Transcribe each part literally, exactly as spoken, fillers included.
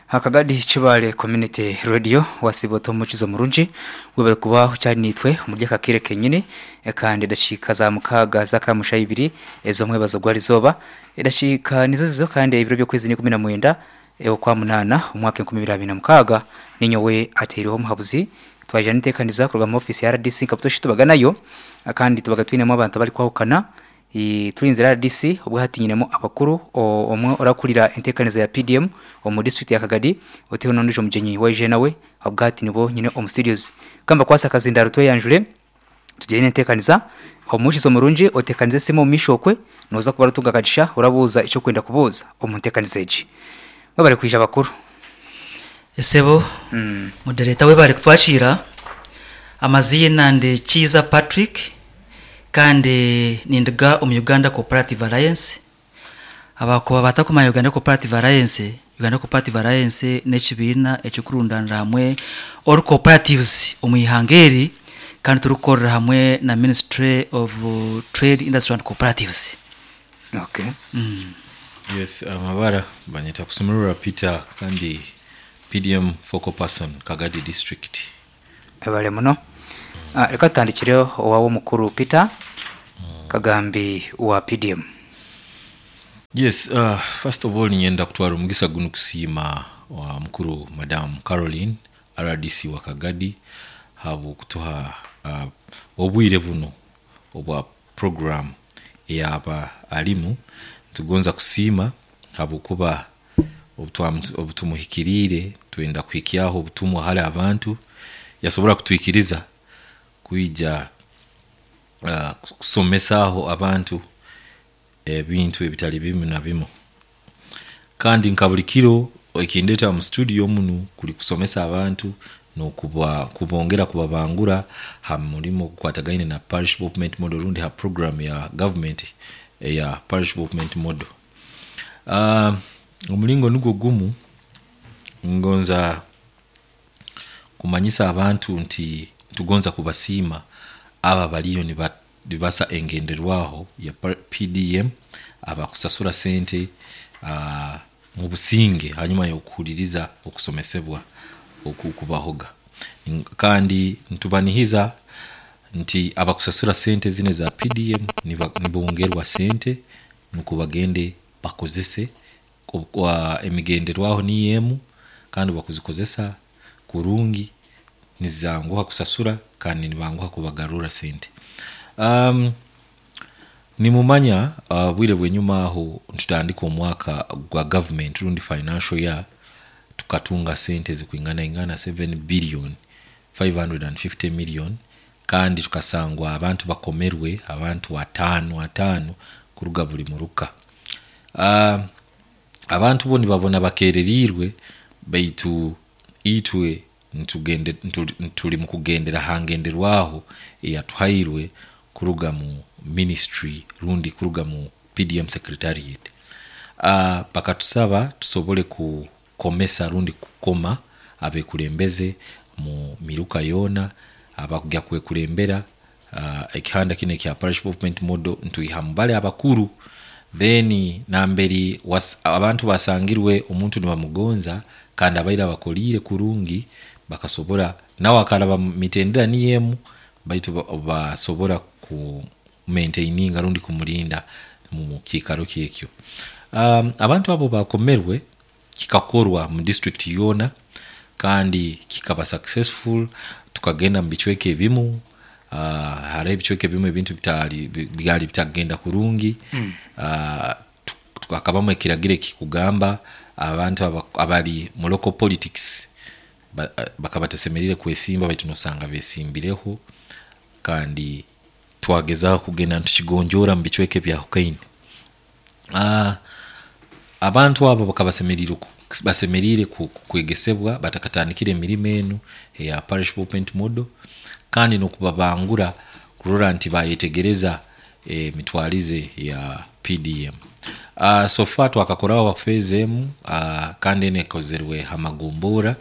Kagadi Kibaale Community Radio. Wasiiba ota omukizo murungi, webare kuba okyari naitwe omuri aka kaire kenyini. Kandi edakiika za mukaaga z'akamusha ibiri ez'omwebazo gw'erizooba, edakiika nizo zizo, kandi ebiro by'okwezi n'ikumi na mwenda okwa munaana omwaka enkumi ibiri abiri na mukaaga. Ninyowe ateireho omuhabuzi twaija n'enteekaniza kuruga mu ofiisi ya R D C nka butoosha tubaga nayo, kandi tubaga twinemu abantu abarikwahukana. Turinzire R D C, obwo hati nyinemu abakuru, omwe orakurira enteekaniza ya P D M omu disiturikiti ya Kagadi, oteho n'ondiijo mugyenyi waije nawe. Obwo hati nibo nyine omu studios. Kambakwase akazindaro tweyanjure tugire n'enteekaniza. Omuhurikiza omurungi, oteekanize esimu omu maisho okwe, nooza kuba oratunga akagisha orabuuza eki orikwenda kubuuza omu nteekaniza egi. Mwebare kwija, bakuru. Esebo moderator, webare kutwakiira. Amaziina ndi Kiiza Patrick, kandi ninduga omu Uganda Cooperative Alliance. Abakuba batakumanya Uganda Cooperative Alliance, Uganda Cooperative Alliance n'ekibiina ekikurundanira hamwe all cooperatives omu ihanga eri, kandi turikukorera hamwe na Ministry of Trade, Industry and Cooperatives. okay. Yes, amabara banyeta Kusemererwa Peter, kandi P D M focal person, Kagadi District. Ebale muno. Ah, reka tutandikire owawe omukuru Peter Kagambi wa P D M. Yes, uh, first of all ninyenda kutwara omugisa guno kusiima wa mukuru Madam Caroline, R D C wa Kagadi, habwokutuha uh, obwire buno obwa program eyaba alimu. Tugonza kusiima habwokuba obu tumuhikiriire twenda kuhikyaho obutumwa hali abantu, yasobora kutwikiriza kwija uh, kusomesaaho abantu ebintu ebitali bimu na bimu. Kandi nka buli kiro ekindeeta mu studio munu kuli kusomesa abantu n'okuba kubongera kubabangura ha murimo ogukwatagaine na Parish Development Model rundi ha program ya government eya Parish Development Model. uh, omulingo nugwo gumu, ngonza kumanyisa abantu nti tugonza kubasiima aba baliyo nibasa engenderwaho ya P D M, abakusasura sente uh, mu businge hanyuma y'okuhuliriza okusomesebwa okukubahoga. Kandi ntubanihiza nti abakusasura sente zino za P D M nibongerwa sente nukwo bagende bakozese emigenderwaho niyo emu, kandi bakuzikozesa kurungi nizanguha kusasura kandi nibanguha kubagarura sente. um, nimumanya uh, bwire bwenyuma aho ntutandika omwaka gwa government rundi financial year, tukatunga sente zikwingana ingana seven billion five hundred fifty million, kandi tukasangwa abantu bakomerwe abantu ataano ataano kuruga buli muruka. uh, abantu bo nibabona bakererirwe, baitu itwe ntugende tuli mu kugendera hangenderwaho eyatuhairwe kuruga mu ministry rundi kuruga mu P D M secretariat. uh, bakatusaba tusobole kukomesa rundi kukoma abekulembeze mu miruka yoona abakujya kwekulembera uh, ekihanda kino ekya Parish Development Model, ntuiha mubale abakuru. Then namberi was, abantu basangirwe omuntu nibamugonza kandi abaire abakoliire kurungi, bakasobora nawe akaraba mitendera niyo emu, baitu basobora ku maintaininga rundi kumulinda mu kiikaro kyekyo. um, abantu abo bakomerwe, kikakorwa mu district yoona kandi kikaba successful. Tukagenda mu bicweka ebimu, uh, hariho ebicweka ebimu ebintu bitali byali bitagenda kurungi. mm. uh, hakabamu ekiragiro ekikugamba abantu abali mu local politics bakaba batasemerire kwesimba, baitu nosanga besimbireho, kandi twagezaho kugenda ntukigonjoora mu bicweka ebyahukaine. uh, abantu abo bakaba basemerire basemerire kwegesebwa batakatandikire emirimo enu eya Parish Development Model, kandi n'okubabangura kurora nti bayetegereza emitwarize ya P D M. uh, so far twakakoraho phase emu, uh, kandi enu ekozerwe hamagombora.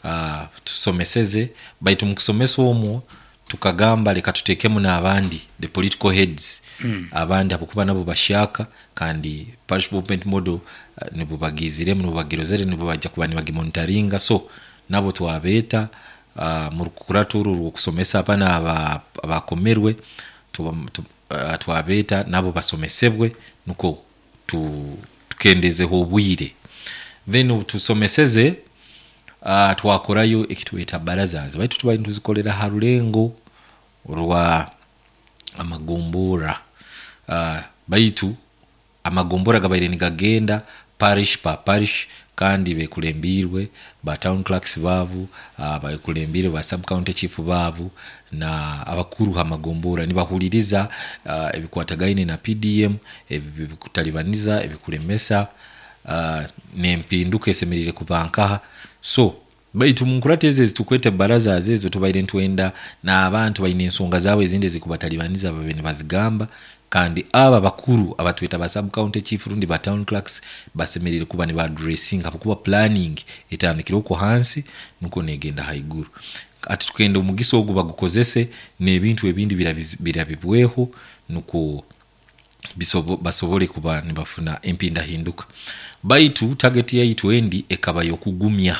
uh, tusomeseze, baitu mukusomesa omwo tukagamba leka tutekemu n'abandi, the political heads mm. abandi, habwokuba nabo bashaka. Kandi Parish Development Model Nibubagiziremu, nibubagirozere, nibubajja kuba nibagimonitaringa. So nabo twabeeta uh, mu rukuratu oru rw'okusomesa abana aba- abakomerwe tuba- tu- uh, twabeeta nabo basomesebwe nukwo tu- tukendezeho obwire. Then obu tusomeseze, uh, twakorayo ekitweta barazas, baitu tubaire nituzikolera ha rulengo rwa amagombora, uh, baitu amagombora gabaire nigagenda parish pa parish, kandi bekulembirwe ba town clerks baabu, uh, bekulembirwe ba sub county chief baabu na abakuru amagombora, nibahuliriza uh, ebikwatagaine na P D M, ebikutalibaniza, ebikulemesa, uh, nempinduka esemerire kuba nkaha. So baitu munkurata ezo ezitukwete baraza ezo, tubaire ntwenda n'abantu baine ensonga zaabo ezindi ezikubatalibaniza babe nibazigamba. Kandi aba bakuru abatweta ba sub county chief rundi ba town clerks basemerire kuba niba addressing, habwokuba planning etandikire okwo hansi nuko negenda haiguru. Ati tukenda omugisa ogu bagukozese n'ebintu ebindi birabiz- birabibweho nukwo bisobo, basobole kuba nibafuna empindahinduka. Baitu target yaitu endi ekaba y'okugumya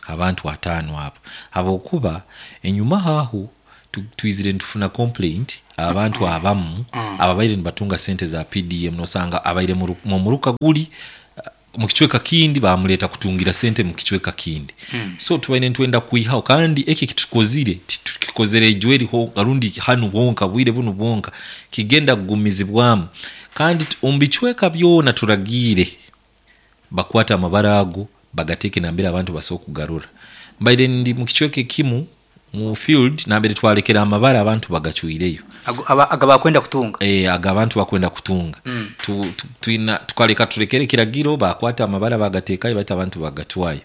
abantu ataano abo, habwokuba enyuma haho tu- twizire nitufuna complaint, abantu abamu ababaire nibatunga sente za P D M, nosanga abaire mu ru- mu muruka guli uh, mu kicweka kindi, bamuleta kutungira sente mu kicweka kindi. So tubaire nitwenda kwihaho, kandi eki kitukozire titukikozere ejweri ho rundi hanu bwonka, bwire bunu bwonka, kigenda kugumizibwamu. Kandi t- omu bicweka byona turagiire bakwata amabara ago bagateeke nambere abantu basobola kugarura. Mbaire ndi mu kicweka ekimu mu field nambere twalekera amabara, abantu bagacwireyo. Ago- aba- aga bakwenda kutunga. E, aga abantu bakwenda kutunga. mm. tu, tu, twina tukaleka tulekere kiragiro bakwata amabara bagateekayo, baitu abantu bagatwayo.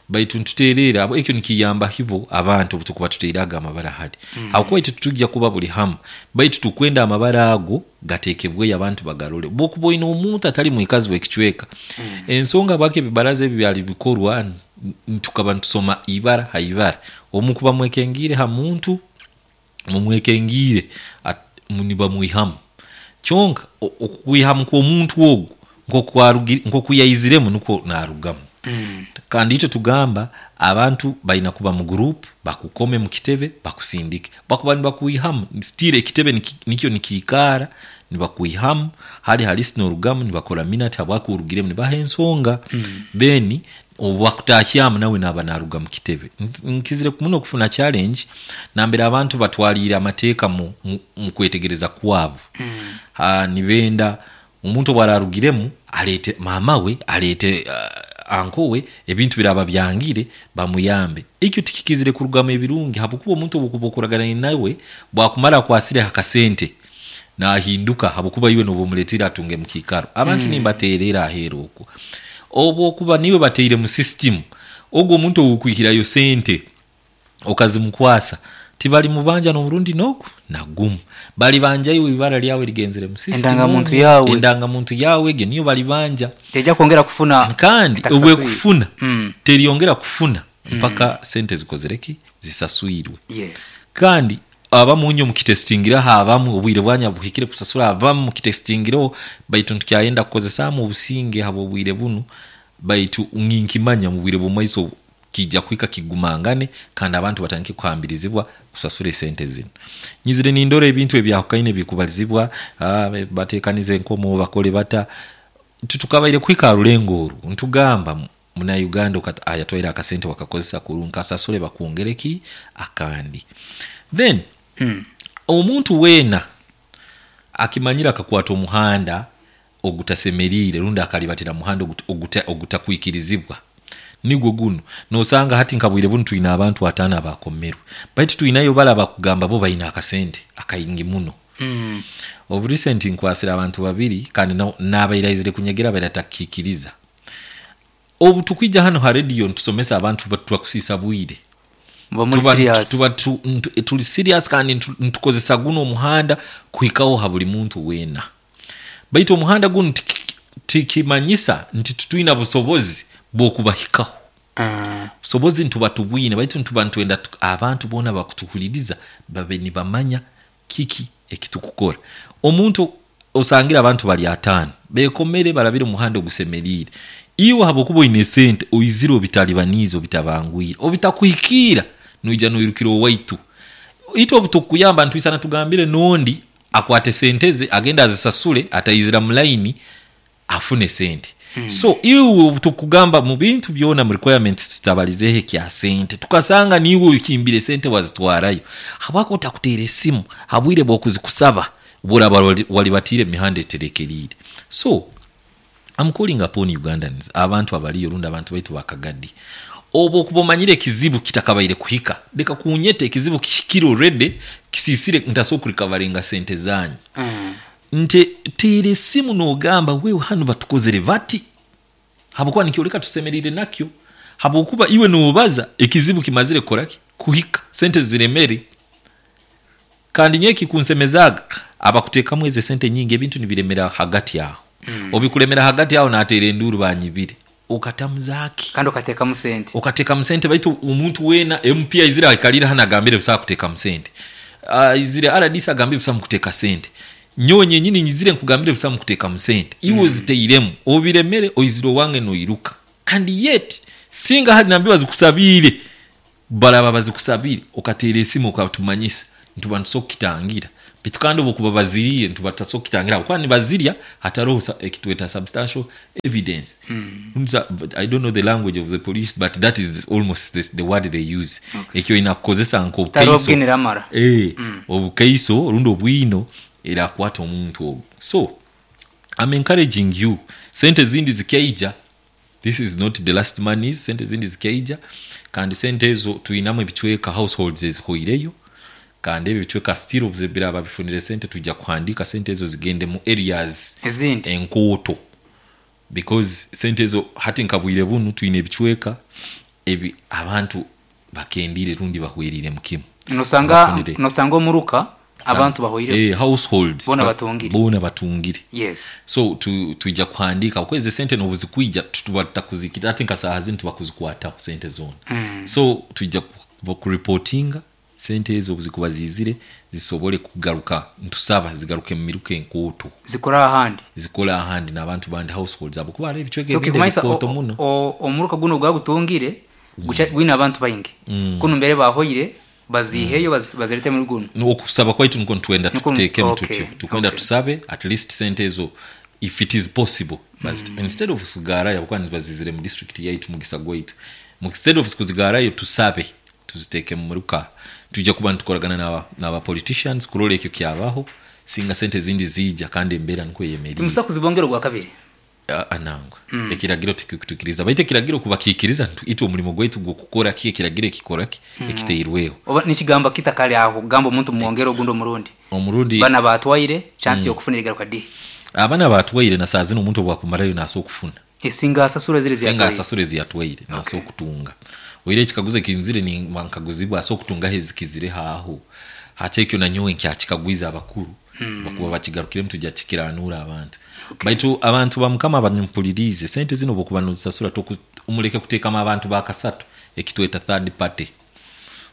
Baitu ntuteerera abo, ekyo nikiyamba hibo abantu obutukuba tuteire ago amabara hadi mm. Habwokuba itwe tutujja kuba buli hamu, baitu tukwenda amabara ago gateekebweyo abantu bagarole. Bwokuba oine omuntu atali mwikazi w'ekicweka mm. Ensonga bwaki ebibaraza ebi byali bikorwa, n- n- tukaba nitusoma ibara ha ibara, omukuba mwekengire ha muntu, mumwekengire at- mu- nibamwihamu. Kyonka o- okwihamu kw'omuntu ogu nk'okwarugi- nk'oku yaiziremu nukwo narugamu mm. Kandi itwe tugamba abantu balina kuba mu group, bakukome mu kitebe, bakusindike. Bakuba nibakwihamu, still ekitebe niki- nikyo nikiikara, nibakwihamu hali halisi norugamu, nibakora minute habwaki orugiremu, nibaha ensonga mm. Then obu bakutahyamu nawe naba naruga mu kitebe. Nk- nkizire muno kufuna challenge nambere abantu batwalire amateeka mu, mu, mu kwetegereza kwabo mm. Ha, nibenda omuntu obwararugiremu alete mama we, alete uh, anko we, ebintu biraba byangire bamuyambe. Ekyo tikikizire kurugamu ebirungi, habwokuba omuntu obukuba okuragana nawe bwakumara akwasire akasente nahinduka, habwokuba iwe noba omuletire atunge mu kiikaro. Abantu mm. nimbaterera aheeru okwo, obwokuba niwe bateire mu system, ogwo omuntu owukwihirayo sente okazimukwasa, tibali mubanja n'omurundi n'ogu nagumu, bali banja iwe, ibara lyawe ligenzere mu system. Endangamuntu yawe. Endangamuntu yawe egyo niyo balibanja. Tejja kwongera kufuna. Kandi etakusaswire. obwe kufuna Mm. teriyongera kufuna mpaka sente zikozereki zisaswirwe. Yes kandi abamu nyo mukitestingiraho, abamu obwire bwanya buhikire kusasura, abamu mukitestingireho, baitu ntukyayenda kukozesamu obusinge habwo obwire bunu. Baitu ninkimanya mu bwire bw'omumaiso kijja kuhika kigumangane, kandi abantu batandike kuhambirizibwa kusasura esente zino. Nyizire nindora ebintu ebyahukaine bikubalizibwa, ah, batekanize enkomo, bakole bata, tutukabaire kuhika aha rulengo oru. Ntugamba munauganda ayatwaire akasente wakakozesa kurungi, kasasule bakwongereki akandi. Then Mm. omuntu weena akimanyire akakwata omuhanda ogutasemeriire rundi akalibatira muhanda ogut- oguta- ogutakwikirizibwa nigwo guno. Nosanga hati nkabwire bunu twina abantu ataano abakomerwe, baitu twinayo bala bakugamba bo baina akasente akaingi muno. Mm. Obu recent nkwasire abantu babiri, kandi na- nabairaizire kunyegera baira takikiriza. Obu tukwija hano ha radio ntusomesa abantu, ba- twakusiisa bwire. Muba muri Tuba- serious. Tuba tu, ntu, tuli serious, kandi ntu- ntukozesa guno omuhanda kuhikaho ha buli muntu weena. Baitu omuhanda guno tiki- tikimanyisa nti tutwina busobozi bw'okubahikaho. Ah. Busobozi ntuba tubwine, baitu ntuba ntwenda tu- abantu boona bakutuhuliriza babe nibamanya kiki ekitukukora. Omuntu osangira abantu bali ataano Bekomere barabire omuhanda ogusemeriire. Iwe habwokuba oine sente oizire obitalibaniize, obitabangwire, obitakuhikiira, noija noirukira owaitu. Itwe obutukuyamba ntwisana tugambire n'ondi akwate sente ze agende azisasule ataizira mu line afune sente. So iwe obutukugamba mu bintu byona mu requirements tutabalizeho ekya sente, tukasanga niiwe ohimbire sente wazitwarayo, habwaki otakuteera esimu habwire bw'okuzikusaba buraba walibatiire emihanda eterekeriire. So I'm calling upon Ugandans, abantu abaliyo rundi abantu baitu bakagadi, obu okuba omanyire ekizibu kitakabaire kuhika, leka kunyeta ekizibu kihikire already, kisisire ntasobola kurikavaringa sente zanyu. Mm. Nte teera esimu n'ogamba wewe hanu batukozere bati, habwokuba nikyoleka tusemeriire nakyo, habwokuba iwe noobaza ekizibu kimazire kukoraki kuhika, sente ziremere. Kandi nyowe ekikunsemezaaga abakuteekamu ezo sente nyingi ebintu nibiremera hagati aho. Mm. Obikuremera hagati aho nateera enduuru banyibire, okatamuzaaki Kandi okateekamu sente. Okateekamu sente, baitu omuntu weena M P aizire aikalire hanu agambire busaha kuteekamu sente, aizire R D C agambire busaha mukuteeka sente, nyowe nyenyini nyizire nkugambire busaha mukuteekamu sente, iwe oziteiremu obiremere oizire owange noiruka. And yet singa hali nambi bazikusabiire, baraba bazikusabiire okateera esimu okatumanyisa, nituba nitusobola kukitangira. Baitu kandi obukuba baziriire nituba tutasobola kukitangira habwokuba nibazirya hataroho ekitweta substantial evidence. Mm. I don't know the language of the police, but that is almost the, the word they use. Okay. Ekyo oyina kukozesa Tariho nk'obukaiso obwinire amara. Eh, Mm. obukaiso rundi obwino erakwata omuntu ogwo. So I'm encouraging you, sente zindi zikyaija, this is not the last monies, sente zindi zikyaija. Kandi sente ezo twinamu ebicweka households ezihoireyo, kandi ebyo ebicweka still obuze biraba bifunire sente, tujja kuhandika sente ezo zigende mu areas ezindi enkooto, because sente ezo hati nkabwire bunu twine ebicweka ebi abantu bakendire rundi bahwerire mu kimu. Nosanga Bafunire. Nosanga omuruka abantu bahoire eh, households Boona batungire. Boona batungire. Yes. So tu, tuija kuhandika okwezi sente nobuzikwija tuba tutakuzikira ati nka saaha zinu tuba kuzikwataho sente zona. Mm. So tuija ku- kuripotinga sente ezo obuzikuba zizire zisobole kugaruka, ntusaba zigaruke mu miruka enkooto. Zikora ahandi. Zikola ahandi n'abantu bandi, households abo, kuba hariho ebicweka So ebindi kikumanyisa ebikooto muno. o- omuruka guno gwagutungire guca- gwine abantu baingi, Mm. kunu mbere bahoire baziheyo bazi- bazirete muri guno. Okusaba kwaitu niko nitwenda Niko- tukuteekemu okay, tutyo tukwenda okay. tusabe at least sente ezo, if it is possible, mm. instead of kuzigarayo habwokuba nibazizire mu district yaitu, mugisa gwaitu, instead of kuzigarayo tusabe tuziteeke mu muruka. Tujja kuba nitukoragana n'aba n'aba politicians kurola ekyo kyabaho singa sente zindi ziija kandi embeera niko eyemeriire. Timusa kuzibongera ogwa kabiri? Anangwa mm. Ekiragiro tikikutukiriza, baitu ekiragiro kubakiikiriza itwe omulimo gwaitu gwokukora ki ekiragiro ekikora ki mm. ekiteirweho. Oba nikigamba kitakali aho kugamba omuntu mwongere ogundi omurundi? Omurundi. Bana batwaire chance yokufuna igaruka di? Abaana batwaire na saa zino omuntu obwakumarayo nasobola okufuna. Esinga asasura zire Singa ziyatwaire. asasura eziyatwaire nasobola okutunga. Oire ekikaguzo ekinzire nkaguzibwa asobola okutungaho ezikizire aho hati, ekyo nanyowe nkyakikagwiza abakuru mm. bakuba bakigarukiremu tujja kikiranura abantu. Okay. Baitu abantu bamukama banyumpulirize, sente zino bwokuba nozisasura toku- omuleke kuteekamu abantu bakasatu, ekitweta third party.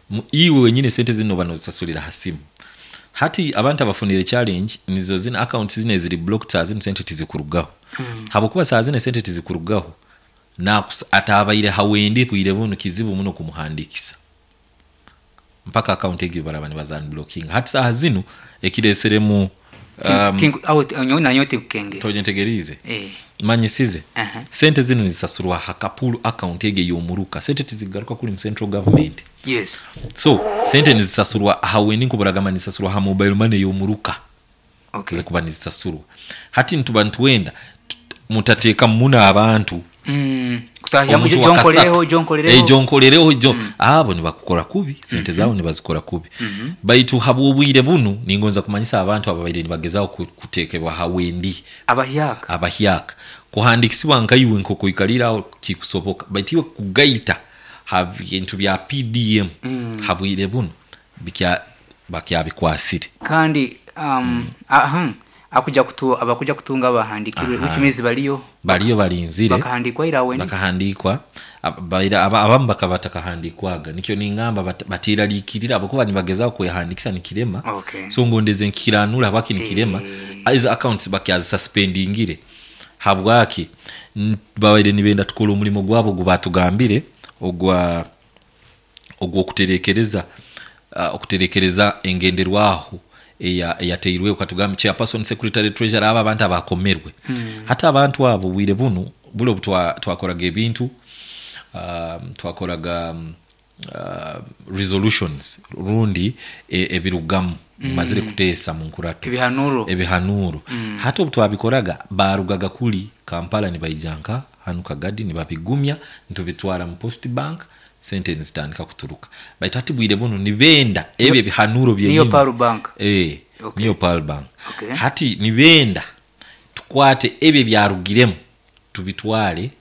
Mu- iwe wenyine sente zino banozisasulira ha simu. Hati abantu abafunire challenge nizo zino accounts zino eziri blocked, saa zino sente tizikurugaho mm. habwokuba saa zino sente tizikurugaho nakus- atabaire hawendi bwire buno kizibu muno kumuhandikisa mpaka account egyo baraba nibazanblocking. Hati saha zino ekireseremu um, Awo nanyowe tikukenge. Tonyetegerize. Eh. Manyisize. Aha. Sente zino zisasurwa hakapulu account ege yomuruka, sente tizigaruka kuri mu central government. Yes. So sente nizisasurwa hawendi nkuburagamba nizisasurwa ha mobile money yomuruka. Okay. Zikuba nizisasurwa hati nituba nituwenda tut- mutateeka muno abantu Mm. Kutahyamu omuntu wa jonkolereho kasatu. jonkolereho. Eh, jonkolereho jo abo nibakukora kubi, sente zaabo nibazikora kubi. Baitu habwobwire bunu ningonza kumanyisa abantu ababaire nibagezaho ku- kuteekebwa hawendi Abahyaka. Abahyaka kuhandikisibwa nkaiwe nkokuikaliraho kikusoboka, baitu iwe kugaita ha bintu bya P D M Mm. habwire buno bikya bakyabikwasire. Kandi um, aha akuja kutu abakuja kutunga abahandikirwe, Aha. which means baliyo. Baliyo balinzire. Bakahandikwa ira wendi. Bakahandikwa. Ab- baira- aba- abamu bakaba batakahandikwaga, nikyo ningamba bat- batiraliikirira abakuba nibagezaho kwehandikisa nikirema. Okay. So ngondeze nkiranura habwaki nikirema. Eh. Izo accounts bakyazisuspendingire. Habwaki N- babaire nibenda tukora omurimo gwabo ogu batugambire ogwa ogw'okuterekereza uh, okuterekereza engenderwaho eya- eyateirweho. Katugamba chairperson, secretary, treasurer, abo abantu abakomerwe mm. Hati abantu abo bwire bunu buli obu twa- twakoraga ebintu, um, twakoraga um, uh, resolutions rundi e- ebirugamu mumazire kuteesa mu nkurato. Ebihanuro. Ebihanuro mm. Hati obu twabikoraga barugaga kuli Kampala nibaija nka hanu Kagadi nibabigumya, ntubitwara mu Post Bank, sente nizitandika kuturuka. Baitu hati bwire bunu nibenda ebyo ebihanuro Niyo byenyini. Pearl Bank. Eh, Okay. niyo Pearl Bank. Okay. Hati nibenda tukwate ebyo ebyarugiremu tubitwale,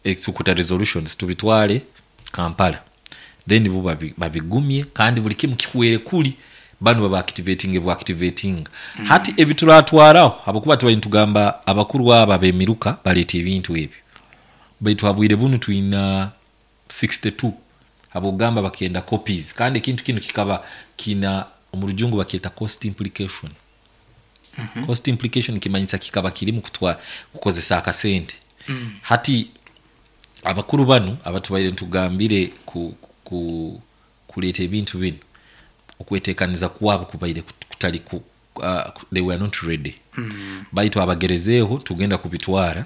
executa resolutions, tubitwale Kampala, then bo babi- babigumye kandi buli kimu kihwere kuli banu baba activating bwa activating mm. Hati ebituratwaraho habwokuba tubaire nitugamba abakuru aba ab'emiruka baleeta ebintu ebyo, baitu habwire bunu twina sixty-two habwokugamba bakenda copies, kandi ekintu kinu kikaba kina omu rujungu bakyeta cost implication mm -hmm. Cost implication kimanyisa kikaba kirimu kutwa kukozesa akasente mm. Hati abakuru banu abatubaire ntugambire ku, ku, kuleeta ebintu bino, okwetekaniza kwabo kubaire kut- kutali ku, uh, they were not ready mm. Baitu abagerezeeho tugenda kubitwara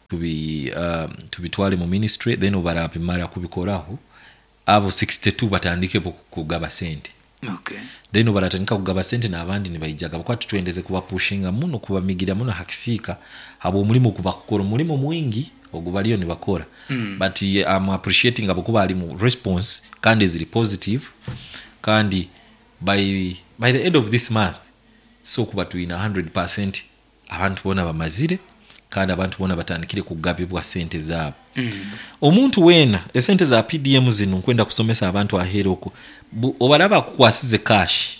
tubi, uh, tubitwale mu ministry, then obarabimara kubikoraho abo sixty-two batandike bo kugaba sente. Okay. Then baratandika kugaba sente n'abandi nibaijaga bakuba tutwendeze kubapushinga muno, kubamigira muno hakisiika habwo omulimu gubakukora omulimo mwingi ogu bariyo nibakora mm. But I'm appreciating abakuba ali mu response kandi eziri positive, kandi by, by the end of this month so kuba twina one hundred percent abantu bona bamazire kandi abantu bona batandikire kugabibwa sente zaabo mm. Omuntu weena esente za P D M zino nkwenda kusomesa abantu aheera okwo. Bu- obaraba akukwasize cash,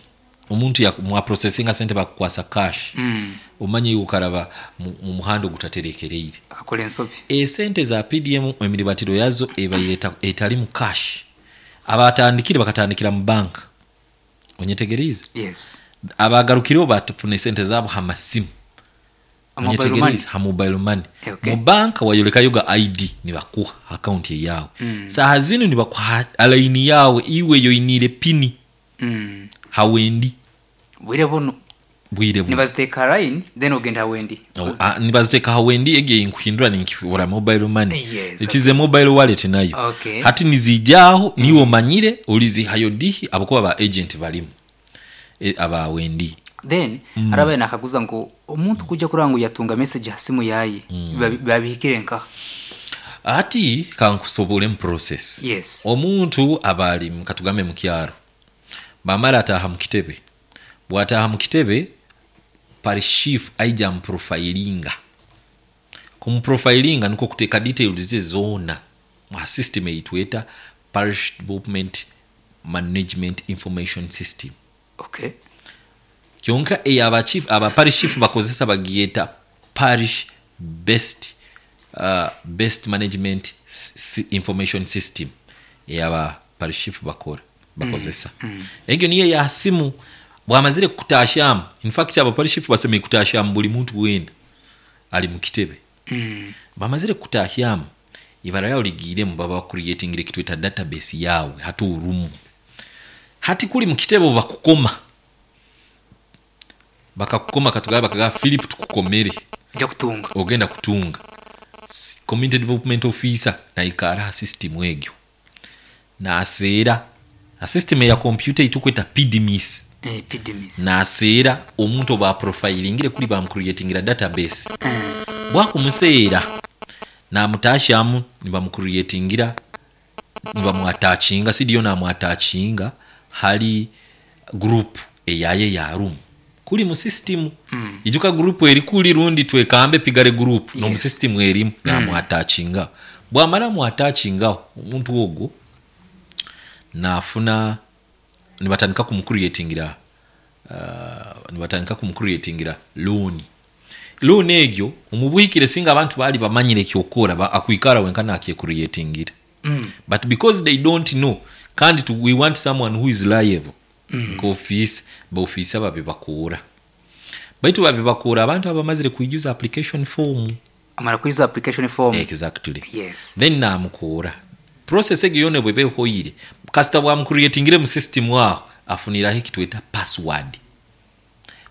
omuntu ya- mwaprocesinga sente bakukwasa cash mm. Omanye iwe okaraba mu mu muhanda ogutaterekereire. Akakora ensobi. Esente za P D M emiribatiro yazo ebaire eta- etali mu cash. Abatandikire bakatandikira mu banka, onyetegerize? Yes. Abagarukireho batufuna esente zaabo ha masimu. Mobile money. Onyetegerize? Ha mobile money. Okay. Mu banka wayolekayo ga I D nibakuha akaunti eyawe mm. Saha zino nibakuha alaini yawe iwe yoinire pini Mm. hawendi. Bwire buno? Bwire buno. Nibaziteeka line, then ogenda hawendi. Oh, ah, nibaziteeka hawendi egyo nkuhindura ninkifura mobile money. Yes, it is a mobile wallet nayo. Okay. Hati nizijaho niwe omanyire olizihayo dihi abakuba ba agent balimu e, aba wendi. Then mm. Arabaye nakaguza ngu omuntu kujja kuranga ngu yatunga message ha simu yaye mm. Babihikire nka? Ati kankusobole mu process. Yes. Omuntu aba ali mu- katugambe mu kyaro, bamara ataaha mu kitebe, bwataaha mu kitebe parish chief aija amuprofilinga. Kumuprofilinga niko kuteeka details ze zoona mu system eyitweta Parish Development Management Information System. Okay kyonka eyo aba chief, aba parish chief bakozesa bagiyeta Parish best uh, best Management S- information System eyaba parish chief bakora bakozesa mm. mm. Egyo niyo ya simu. Bwamazire kutashamu, in fact aba parish chief basemeye kutashamu buli muntu wena ali mu kitebe mm. Bamazire kutahyamu ibara yawe ligiremu, baba creating ekitweta database yawe hati orumu. Hati kuli mu kitebe bakukoma, bakakukoma, katugaba bakagaa Philip tukukomere. Nja kutunga. Ogenda kutunga. S- community development officer naikara ha system egyo naseera ha system eya computer itukweta P D M I S. Eh, P D M I S. Naseera omuntu oba profilingire kuli bamucreatingira database, bwakumuseera namutashamu nibamucreatingira, nibamuatacinga sidiyo namuatacinga hali group eyaye ya room kuli mu system mm. Ijuka group eri kuli rundi twekambe pigare group yes. No mu system erimu mm. Namuatacinga, bwamara muatacinga omuntu ogwo nafuna nibatandika kumucreatingira uh, nibatandika kumucreatingira loan. Loan egyo omubuhikire singa abantu bali bamanyire kyokora ba, akwikara wenka nakyecreatingira mm. But because they don't know kandi to, we want someone who is liable mm. Nka office baofisa babibakuura, baitu babibakuura abantu abamazire kwijuza application form. Amara kwiza application form. Exactly. Yes. Then namukuura process egyo yona bweba ehoire, kasita bwamucreatingire mu system aho, afuniraho ekitweta password.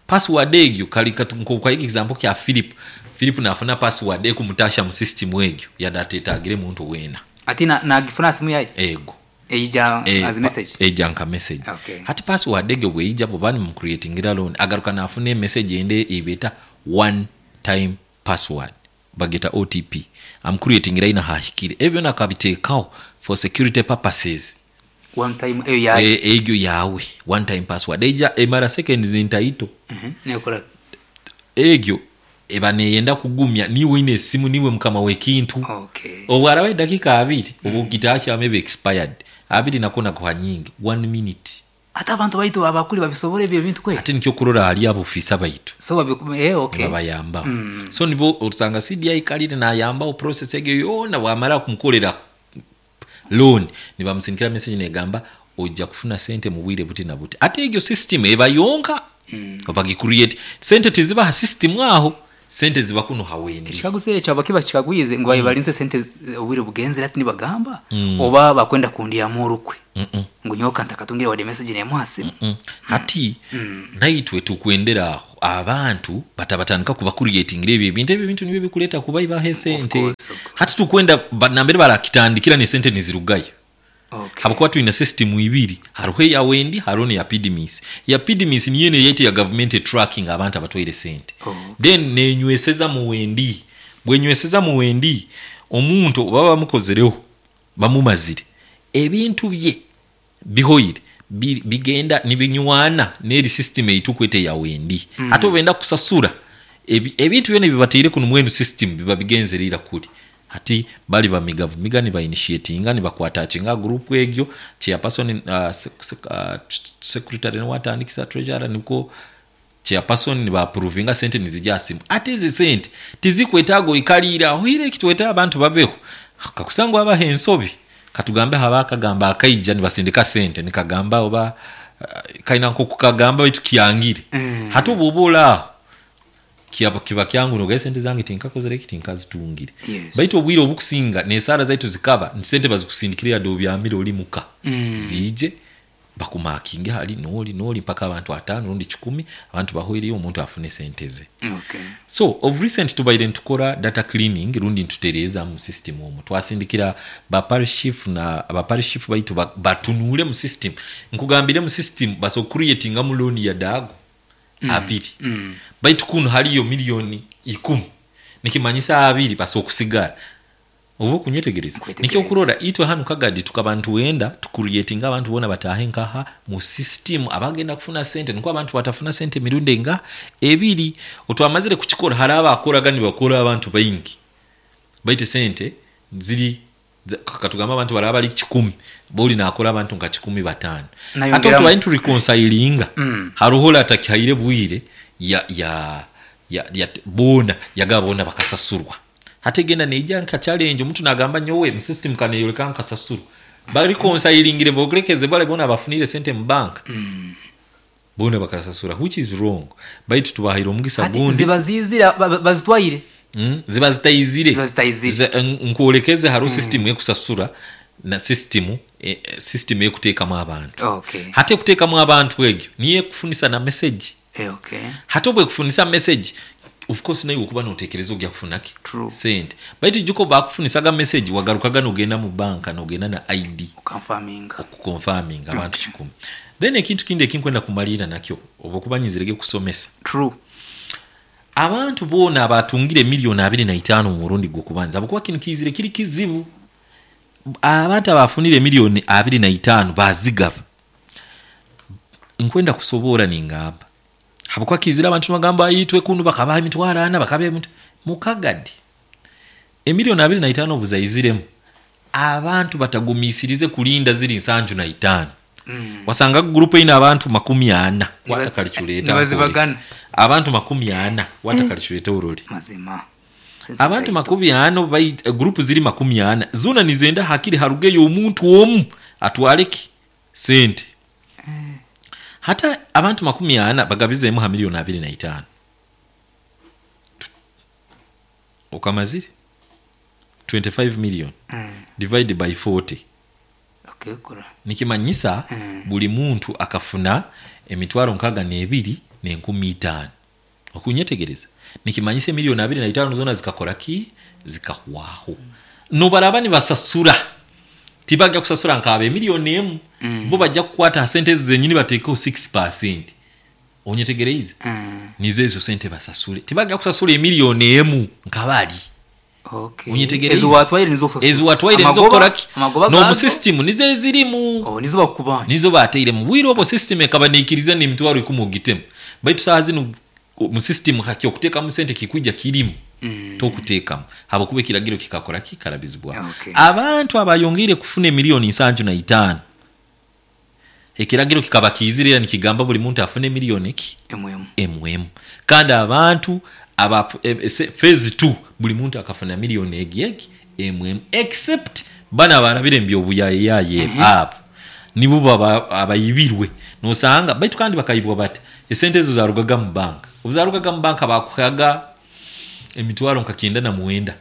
Password egyo kali kwa example kya Philip. Philip nafuna password ekumutasha mu system egyo, yadatetagire muntu wena. Ati na nagifuna simu yaye? Ego. Eija e, as message? Eija nka message. Okay. Hati password egyo bweija, bwoba nimucreatingira loan, agaruka nafuna emessage ende ebeta one time password, bageta O T P. Amucreatingira ina hahikire, ebyo nakabiteekaho for security purposes. One time eyo yaye? E- egyo yawe one time password eija emara seconds ntaito. Mhm. Nekora? Egyo eba neyenda kugumya niwe ine esimu, niwe mukama w'ekintu. Okay. Obwaraba edakika abiri, oba ogitakyama eba expired. Abiri nako nakuha nyingi, one minute. Ate abantu baitu abakuli babisobora ebyo ebintu kwe? Ate nikyo kurora hali abofisa baitu. So babi eh okay. Babayambaho. Mm. So nibo osanga C D I kalire nayambaho process egyo yona. Bwamara kumukolera loan, nibamusindikira message negamba ojja kufuna sente mu bwire buti na buti. Ate egyo system eba yonka mm. bagicreate, sente tizibaha system aho, sente ziba kuno hawendi. Ekikaguzo ekyo abakiba kikagwize ngu babalinze sente obwire bugenzere, ati nibagamba Mm. oba bakwenda kundyamu orukwe Mm -mm. ngu nyoka ntakatungire wadde message nemuhasimu. Mm. Hati naitwe tukwendera aho abantu batabatandika kubacreatingira ebyo ebintu. Ebyo ebintu nibyo bikuleta kubaibaho esente. Course, of course. Hati tukwenda ba- nambere barakitandikira nesente nizirugayo. Okay. Habwokuba twine system ibiri, hariho eya wendi, hariho neya P D M S. Ya P D M S niyo neyete ya government tracking abantu abatwaire sente. Oh. Then nenyweseza mu wendi. Bwenyweseza mu wendi, omuntu baba bamukozereho, bamumazire ebintu bye bihoire, bi- bigenda nibinywana neri system eitukwete ya wendi. mm. Ate obenda kusasura ebi- ebintu byona bibateire kuno mwenu system biba bigenzerera kuli. Hati bali bamiga bumiga, nibainitiatinga, nibakwatakinga group egyo, chairperson, uh, sec, sec, uh, secretary niwatandikisa, treasurer niko chairperson, nibaapprovinga sente nizija simu. Ate ezi sente tizikwetaaga oikaliira oire ekitweta abantu babeho kakusangwa abaha ensobi. Katugambe haba akagamba akaija nibasindika sente nikagamba oba uh, kaina nkokukagamba baitu kyangire. Mm. Hati oba olaaho kiba kiba kyangu nogaye sente zange tinkakozere eki, tinkazitungire. Yes. Baitu obwire obukusinga nesaara zaitu zikaba nti sente bazikusindikire yadde obyamire oli muka. Mm. Ziije bakumakinge hali noli noli mpaka abantu ataano rundi kikumi, abantu bahwereyo, omuntu afune sente ze. Okay. So of recent tubaire ntukora data cleaning rundi ntutereeza mu system omwo. Twasindikira ba parish chief na ba parish chief baitu ba- batunuule mu system. Nkugambire, mu system baso creatinga mu loan ya daago mm. abiri. Mm. Baitu kuno haliyo miliyoni ikumi, nikimanyisa abiri baso okusigara. Oba okunyetegereza? Nkwetegereza. Nikyo okurora itwe hanu Kagadi tukaba ntuwenda tucreatinga abantu bona batahe nkaha mu system abagenda kufuna sente, niko abantu batafuna sente emirundi nga ebiri. Otwamazire kukikora, hari abakoraga nibakora abantu baingi, baitu sente ziri za- katugamba abantu baraba bali kikumi, boli nakora abantu nka kikumi bataano. Nayongeramu. Ate otubaye ntureconcilinga, Mm. haruho atakihaire bwire ya ya ya, ya bona yagaba bona bakasasurwa. Hati egenda neija nka challenge, omuntu nagamba nyowe mu system kaneyoleka nkasasurwa. Bareconcilingire bogelekeze bale bona bafunire sente mu bank, Mm. bona bakasasura, which is wrong. Baitu tubahaire omugisa Ati gundi. ziba zizira ba- ba- bazitwaire? Mm, ziba zitayizire. Ziba zitayizire. Ze- n- nkwolekeze hariho system ekusasura na system eh, eh, system ekuteekamu abantu. Okay. Hati ekuteekamu abantu egyo niyo ekufunisa na message. Eh, okay. Hati obwo ekufunisa message, of course naye okuba notekereza ogya kufunaki? True. Sente. Baitu juko bakufunisaga message, wagarukaga nogenda mu banka nogenda na I D. Oconfirminga. Okuconfirminga abantu kikumi. Then ekintu kindi ekinkwenda kumalira nakyo, oba okuba nyizirege kusomesa. True. Abantu boona abatungire miliyoni abiri na itaano mu murundi gw'okubanza, abakuba kino kizire kiri kizibu, abantu abafunire miliyoni abiri na itaano bazigaba. Nkwenda kusoboora ningamba habwokuba kizire abantu nibagamba itwe kunu bakabaha emitwaro ana, bakabaha emitwaro mukagadi. Emiliyoni abiri na itaano obuzaiziremu, abantu batagumisirize kulinda ziri nsanju na itaano. Mm. Wasanga gurupu eine abantu makumi ana. Niba- Watakalculeta. Nibazibagana. Abantu makumi ana, watakalculeta uroli. Mazima. Sente Abantu taito. makumi ana bai- gurupu ziri makumi ana, zona nizenda hakiri harugeyo omuntu omu atwaleki sente. Hata abantu makumi ana bagabizemu ha miliyoni abiri na itaano. Okamazire twenty-five million Mm. divide by forty. Okay, kura. Nikimanyisa Mm. buli muntu akafuna emitwaro nkaga n'ebiri n'enkumi itaano. Okunyetegereza nikimanyisa emiliyoni abiri na itaano zona zikakora ki? Zikahwaho. Nobaraba nibasasura, tibajja kusasura nkaba emiliyoni emu. Mm. Bo bajja kukwata sente ezo zenyini bateekeho six percent. Onyetegereize? Mm. Nizo ezo sente basasule, tibajja kusasula emiliyoni emu nkabali. Okay. Onyetegereize? Ezo watwaire nizo kusasura. Ezo watwaire nizo Amagoba- kukoraki? Amagoba N'omu gazo? system nizo ezirimu. Oh, nizo bakubanja. Nizo bateire mu bwire obwo. System ekaba niikiriza n'emitwaro ikumi ogitemu, baitu saaha zinu mu system haki okuteekamu sente kikwijja kirimu. Mm. Tokuteekamu habwokuba ekiragiro kikakora kikarabizibwa. Okay. Abantu abayongeire kufuna emiliyoni nsanju na itaano, ekiragiro kikaba kiizire era nikigamba buli muntu afune emiliyoni ki? Emu emu. Emu emu. Kandi abantu aba e- e- se- phase two, buli muntu akafuna miliyoni egi egi emu emu, except bana abarabire mbyobuyayeyaye, abo nibo baba abayibirwe nosanga. Baitu kandi bakayibwa bati esente ezo zarugaga mu banka. Obu zarugaga mu banka, bakuhaga emitwaro nka kyenda na mwenda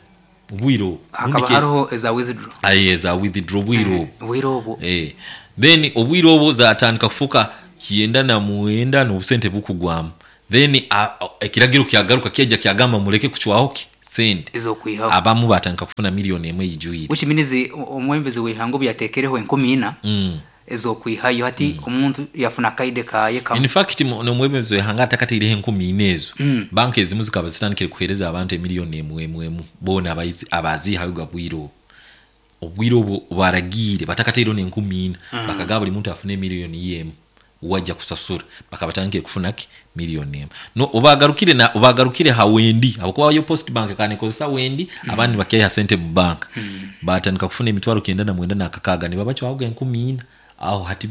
obwire obwo. Hakaba Rundi ke- hariho eza withdraw. Aye, za withdraw obwire obwo. Obwire obwo. Eh, then obwire obwo zatandika kufuka kyenda na mwenda n'obusente bukugwamu. Then a- a- ekiragiro kyagaruka kyajja kyagamba muleke kucwaho ki sente. Ezokwihaho. Abamu batandika kufuna miliyoni emwe ijwire. Which means omwembezi w'ihanga obu yateekereho enkumi ina mm. ezokwihayo, hati omuntu yafuna akaide kaye kamwe. In fact, mu- n'omwebembezi w'ihanga atakateireho enkumi ina ezo, Mm. banka ezimu zikaba zitandikire kuhereza abantu emiliyoni emwe emwe emu boona abayizi- abaziihayo ga bwire obwo. Obwire obwo baragiire batakateireho n'enkumi ina, bakagaba buli muntu afune emiliyoni ye emu wajja kusasura, bakaba batandikire kufuna ki? Miliyoni emu. No obagarukire na obagarukire ha wendi, habwokuba yo Post Bank kanekozesa wendi, abandi bakaiha sente mu banka, batandika kufuna emitwaro kyenda na mwenda nakakaaga, nibabacwaho enkumi ina. Aho hati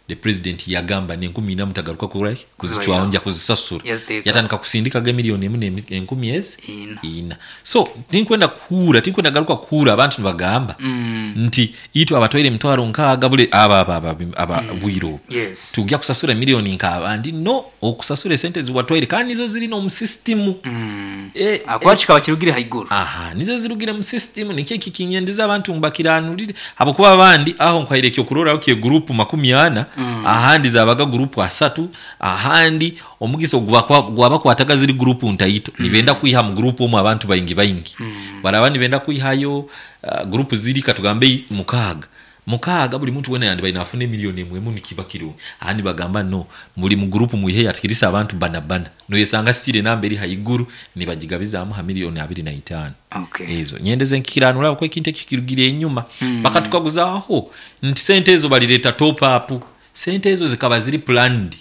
the president yagamba n'enkumi ina mutagaruka kura kuzicwaho, nja kuzisasura. Yaziteeka. Yatandika kusindikaga emiliyoni emu n'emi- enkumi ezi Ina. ina. So tinkwenda kuhura, tinkwenda garuka kuhura abantu nibagamba Mm. nti itwe abatwaire emitwaro nkaaga bule aba aba aba aba bwire obwo Yes. tujja kusasura miliyoni nk'abandi. No okusasura esente ziwatwaire, kandi nizo ziri n'omu system. Mm. Eh, Akuba kikaba kirugire haiguru. Aha, nizo zirugire mu system. Nikyo kikinyendeza abantu mbakiranurire, habwokuba abandi aho nkwaire ekyokuroraho kye group makumi ana, ahandi zabaga group asatu, ahandi omugisa ogwaba- gwabakwataga ziri group ntaito, nibenda kwiha mu group omwe abantu baingi baingi, baraba nibenda kwihayo uh, group ziri katugambe i- mukaaga mukaaga, buli muntu wena yandi baina afune miliyoni emwe emu, nikiba kirungi. Ahandi bagamba no, muli mu group mwihe yatikirisa abantu bana bana, noyesanga sire namba eri haiguru nibagigabizaamu ha miliyoni abiri na itaano. Okay. Ezo nyendeze nkikiranura ko ekintu ekyo kirugire enyuma mm. Bakatukaguzaaho nti sente ezo balireta top up. Sente ezo zikaba ziri planned,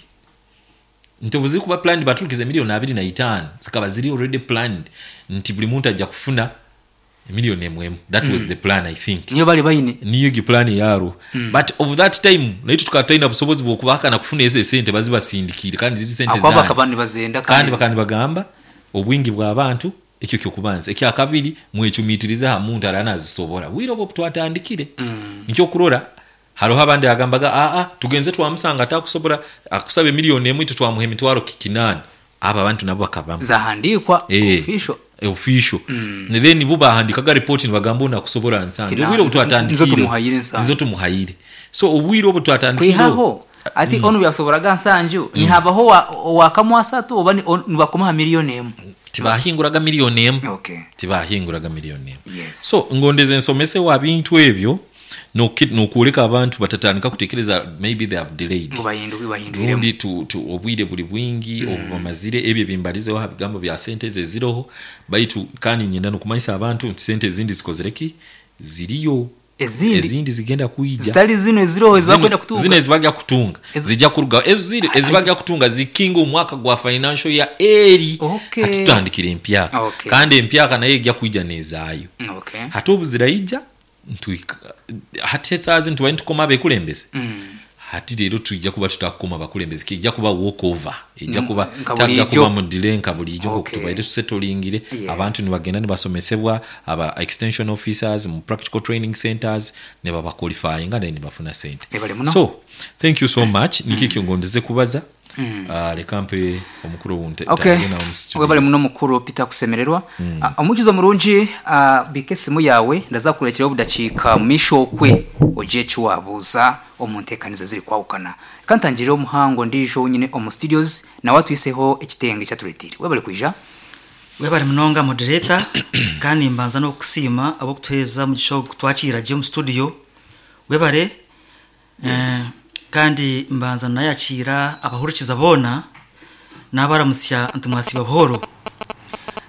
nti obu ziri kuba planned, baturukiza miliyoni abiri na itaano, zikaba ziri already planned nti buli muntu ajja kufuna emiliyoni emu emu. That mm. was the plan, I think. Niyo bali baine. Niyo gi plan yaro mm. But of that time naitwe tukaba tulina busobozi bwokubahakana kufuna ezo esente bazibasindikire, kandi ziri sente Akuba zanyu. bakaba nibazenda. Kandi bakandi bagamba obwingi bw'abantu. Ekyo kyokubanza. Ekyakabiri, mwecumitirize ha muntu aranazisobora. Bwire obwo twatandikire Mm. nikyo kurora hariho abandi agambaga aa tugenze twamusanga atakusobora, akusaba emiliyoni emu, itwe twamuha emitwaro kinaana. Abo abantu nabo bakabamu. Zahandikwa. Eh. Official. Official mm. Then bo bahandikaga report nibagamba ono akusobora nsanju. Kinaana. Obwire obu twatandikire Nizo tumuhayire nsanju. Nizo tumuhayire. So obwire obu twatandikire Kwihaho ati onu byasoboraga nsanju, nihabaho wa- wakamwasatu oba ni- on- nibakomaha miliyoni emu. Tibahinguraga miliyoni emu. Okay. Tibahinguraga miliyoni emu. Yes. So ngondeze nsomese wa bintu ebyo noki- nokwoleka abantu batatandika kutekereza maybe they have delayed. Ngo bahinduke, bahindwiremu. Rundi tu, tu, obwire buli bwingi mm. obu bamazire ebyo bimbalizeho ha bigambo bya sente ezo eziroho. Baitu kandi nyenda nokumanyisa abantu nti sente ezindi zikozere ki? Ziriyo. Ezindi? Ezindi zigenda kwija. Zitali zino eziroho ezibakwenda kutunga. Zino ezibajja kutunga Ezi- zijja kuruga ezo ziri ezibajja kutunga zikinga omwaka gwa financial ya eri. Okay. Hati tutandikira empyaka. Okay. Kandi empyaka nayo ejja kwija nezaayo. Okay. Hati obu ziraija ntwika- hati esaazi ntubaye ntukoma abekulembeze. Mm. Hati leero tujja kuba tutakukoma abakulembeze, kijja kuba walk over, ejja Mm, kuba nka tajja bulijjo. kuba mu delay nka bulijjo. Okay. Okay. Tubaire tusetolingire Yes. abantu nibagenda nibasomesebwa aba extension officers mu practical training centers, ne babaqualifyinga, then nibafuna sente. Ebale muno. So thank you so much. Nikyo ekyo ngondeze kubaza. mm. uh, reka mpe omukuru wunte okay webale muno mukuru Peter kusemererwa mm. uh, omukizo murungi uh, bike simu yawe ndazakurekera obudakiika misho okwe oje chiwabuza omuntekaniza ziri kwawukana kantangirira omuhango ndijo nyine omu studios nawe atwiseho ekitenge kyaturetire webale kwija. Webale munonga moderator kandi mbanza no kusiima abo kutuheza mu gisho kutwakira je mu studio webale. Yes. Eh, kandi mbanza nayakira abahurikiza bona nabaramusya ntumwasiba buhoro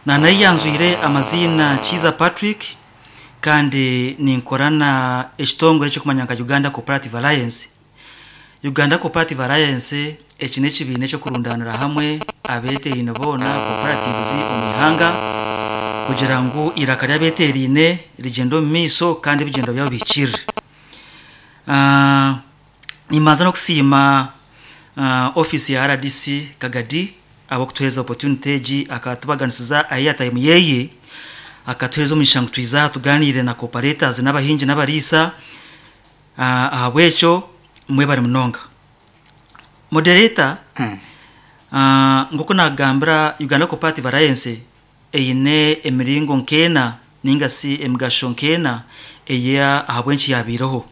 na nayanzuire amazina Kiza Patrick kandi ninkorana ekitongole cyo kumanya nka Uganda Cooperative Alliance. Uganda Cooperative Alliance eki n'ekibiina cyo kurundanira hamwe abeterine bona cooperatives omwihanga kugira ngu iraka ry'abeterine rigendo mu miso kandi ebigendo byabo bikire. Uh, nimanza no kusiima uh, office ya R D C Kagadi abo kutuheza opportunity egi akatubaganisiza ayi time yeye akatuheza omugisha ngu twiza tuganire na cooperators n'abahingi n'abariisa uh, ahabwekyo mwebare munonga. Moderator, mm. uh, ngoko nagambira Uganda Cooperative Alliance eine emiringo nkena ninga si emigasho nkena eya ahabwenki yabiroho.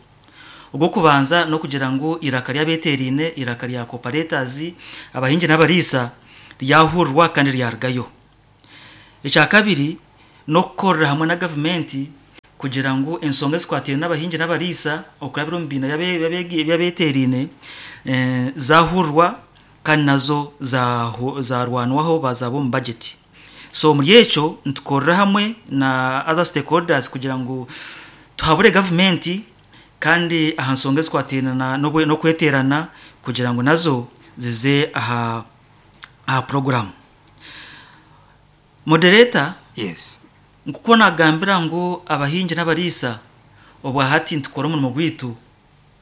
Ubwo kubanza no kugira ngo iraka ry'abeterine iraka rya cooperators abahingi n'abariisa ryahurwa kandi ryarugayo. Icya kabiri no kukorera hamwe na government kugira ngo ensonga zikwatire n'abahingi n'abariisa okurabira mu bina y'abeterine eh, zahurwa kandi nazo zarwanwaho bazabo mu budget. So muri eco ntukorera hamwe na other stakeholders kugira ngo tuhabure government kandi aha nsonga zikwatirana no kweterana kugira ngo nazo zize aha aha program. Moderator, yes, nkuko nagambira ngo abahingi n'abariisa obwa hati ntukora umurimo gwitu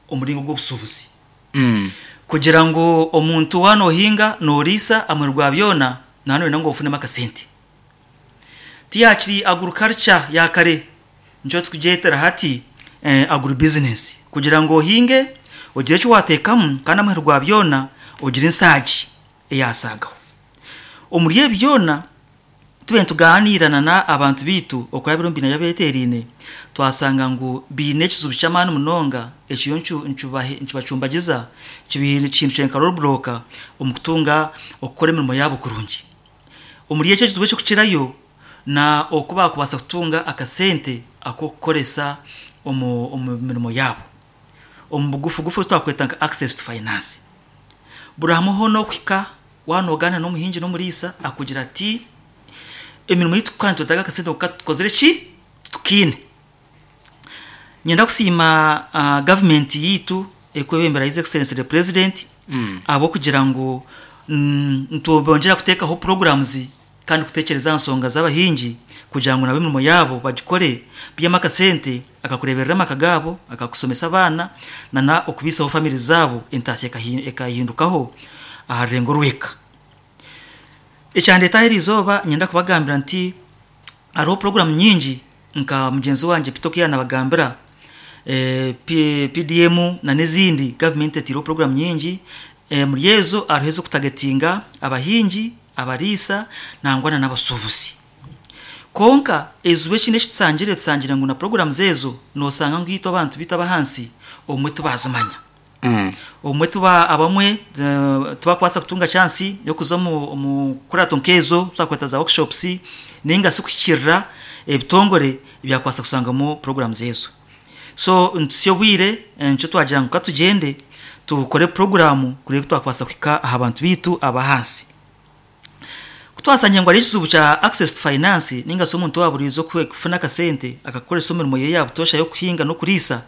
omuringo gw'obusubuzi mm. kugira ngo omuntu wano hinga norisa amurwa byona nano nango ofune makasente tiyakiri agriculture yakare njo tukujetera hati eh, agribusiness kugira ngo hinge ogire cyo watekamu kandi amurwa byona ogire insaji eyasagaho omuri byona tube tuganirana na abantu bitu okurabira mbina yabeterine twasanga ngo bine ekizubu cy'amani munonga ekiyo ncubahe ncubacumbagiza kibintu kintu cyenka roadblock omukutunga okukora emirimo yabo kurungi omuri ekyo kizubu cyo kukirayo na okuba kubasa kutunga akasente akokukoresa omu mirimo yabo omu bugufu gufu twakweta nka access to finance burahamuho no kwika wanogana n'omuhingi n'omuriisa akugira ati emirimo yitu kandi tutaga akasente tukozere ki tukine. Nyenda kusiima uh, government yitu ekwebembera His Excellency the President mm. abo kugira ngo mm, ntubongera kutekaho programs kandi kutekereza nsonga z'abahingi kugira ngo nabo emirimo yabo bagikore by'amakasente akakureberera amakagabo akakusomesa abana nana okubisaho family zabo entasi ekahindukaho aharengo rweka. Ekyandeta herizoba nyenda kubagambira nti hariho program nyingi nka mugenzi wanje Pitokia nabagambira eh, P D M na n'izindi government etiro program nyingi eh, muri ezo hariho kutagetinga abahingi abarisa nangwana n'abasubuzi. Konka ezube kine kisangire tsangire ngo na program zezo nosanga ngito abantu bita abahansi omwe tubazimanya mm. omwe tuba abamwe tubakwasa kutunga chance yo kuza mu kurato nkezo twakweta za workshops ninga sukukirira ebitongore byakwasa kusangamo program zezo. So ntsyo bwire nco twagira ngo katugende tukore program kuri twakwasa kwika abantu bitu abahansi kutwasanye ngo ari ikizubu cha access to finance ninga so umuntu waburizo kufuna kasente akakoresha umurimo ye yabutosha yo kuhinga no kurisa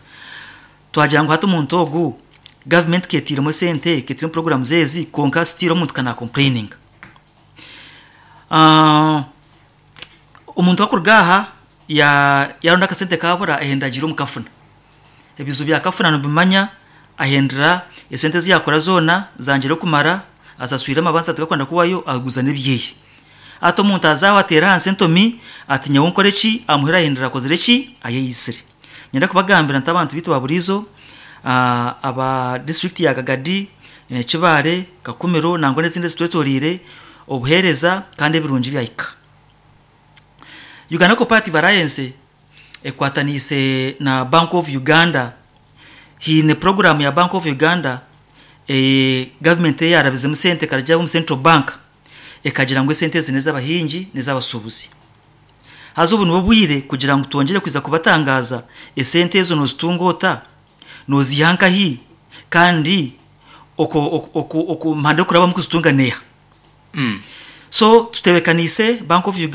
twagira ngo hato umuntu ogu government ketira mo sente ketira program zezi konka stiro umuntu kana complaining ah uh, umuntu akurgaha ya yaronda kasente kabura ahendagira umukafuna ebizu bya kafuna no bimanya ahendera esente ziyakora zona zangire kumara asaswira amabanza tugakwanda kuwayo aguza nebyeye ato umuntu azaho atera hanse ntomi ati nyawo nkore ki amuhera ahendera kozere ki ayeyisire. Nyenda kubagambira ntabantu bitu baburizo uh, aba district ya Kagadi eh, Kibaare, Kakumiro, nangwa n'ezindi ezitwetoreire obuheereza kandi ebirungi byahika. Uganda Cooperative Alliance ekwataniise na Bank of Uganda. Hiine program ya Bank of Uganda, e, government eyarabizemu sente ekaragya omu central bank ekagira ngu esente ezi n'ez'abahingi n'ez'abasuubuzi. Haza obu nibwo bwire kugira ngu twongere kwiza kubatangaza esente ezo nozitunga ota, noziiha nkahi, kandi oku oku oku oku mihanda okurabamu kuzitunga neeha. Mm. So tutebekaniise Bank of Uganda.